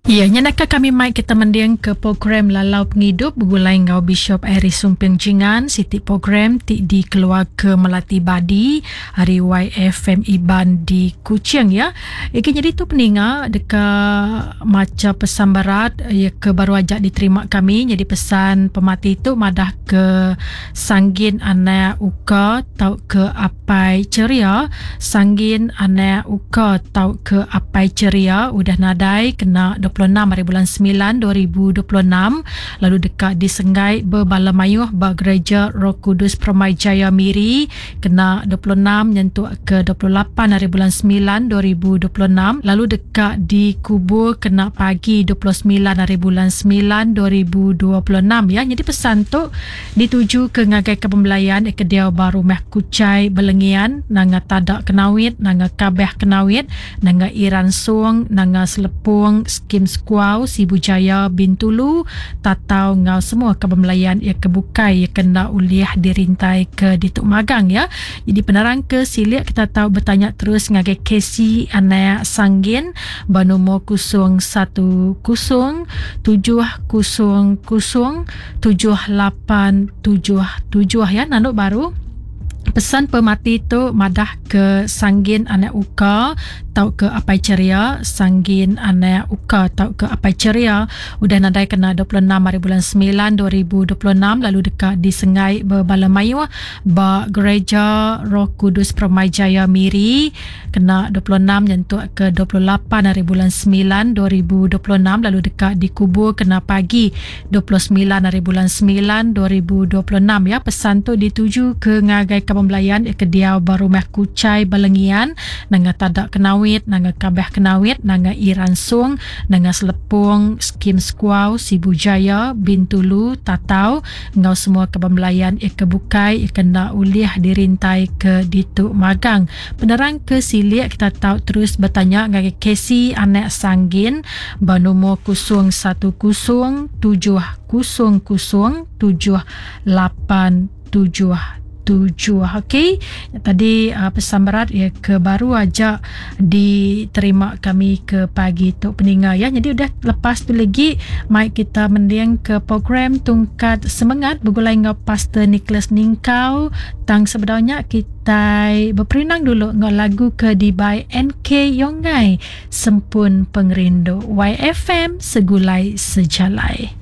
Iya, nya naka kami mai kita mending ke program Lalau Pengidup begulai enggau Bishop Iris Sumping Jingan, siti program ti dikeluarka Melati Badi ari YFM Iban di Kuching ya. Igi nyadi tu peninga deka macha pesan berat iya ke baru aja diterima kami nyadi pesan pemati tu madah ke Sanggin anak Uka tauka Apai Cheria, Sanggin anak Uka tauka Apai Cheria udah nadai kena 26 hari bulan semilan 2026 lalu deka disenggai bebala mayuh ba Gereja Roh Kudus Permai Jaya Miri kena 26 nyentuk ke 28 hari bulan semilan 2026 lalu deka dikubur kena pagi 29 hari bulan semilan 2026 ya. Nyadi pesan tu Dituju ke ngagai ke pembelayan ke diau ba Rumah Kuchai Belengian, Nanga Tada Kenawit, Nanga Kabeh Kenawit, Nanga Iran Song, Nanga Selepong, Skim Sekuau, Sibu Jaya, Bintulu, Tatau enggau semua ke pembelayan iya ke bukai iya ke enda ulih dirintai ke ditu magang ya. Jadi penerang ke silik kita tau betanya terus ngagai Casey Anak Sanggin ba nomor 010 700 7877 ya nandu baru pesan pemati tu madah ke Sanggin anak Uka tauka Apai Ceria Sanggin anak Uka tauka Apai Ceria udah nadai kena 26 hari bulan 9 2026 lalu deka disengai bebala mayuh ba Gereja Roh Kudus Permai Jaya Miri kena 26 nyentuk ke 28 hari bulan 9 2026 lalu deka dikubur kena pagi 29 hari bulan 9 2026 ya. Pesan tu dituju ke ngagai kaban belayan ke diau ba Rumah Kuchai Balengian, Nanga Tada Kenawit, Nanga Kabah Kenawit, Nanga Iran Song, Nanga Selepong, Skim Sekuau, Sibu Jaya, Bintulu, Tatau enggau semua kaban belayan ke bukai ke enda ulih dirintai ke ditu magang. Penerang ke silik kita tau terus betanya ngagai Casey anak Sanggin ba nomor 010 700 7877. Okey, tadi pesan berat ya ke baru aja diterima kami ke pagi tu peninga ya. Jadi udah lepas tu lagi mai kita mending ke program Tungkat Semengat begulai enggau Pastor Nicholas Ningkau. Tang sebedau nya kitai beperindang dulu enggau lagu ke dibai NK Yongai Sempun Pengerindu. YFM Segulai Sejalai.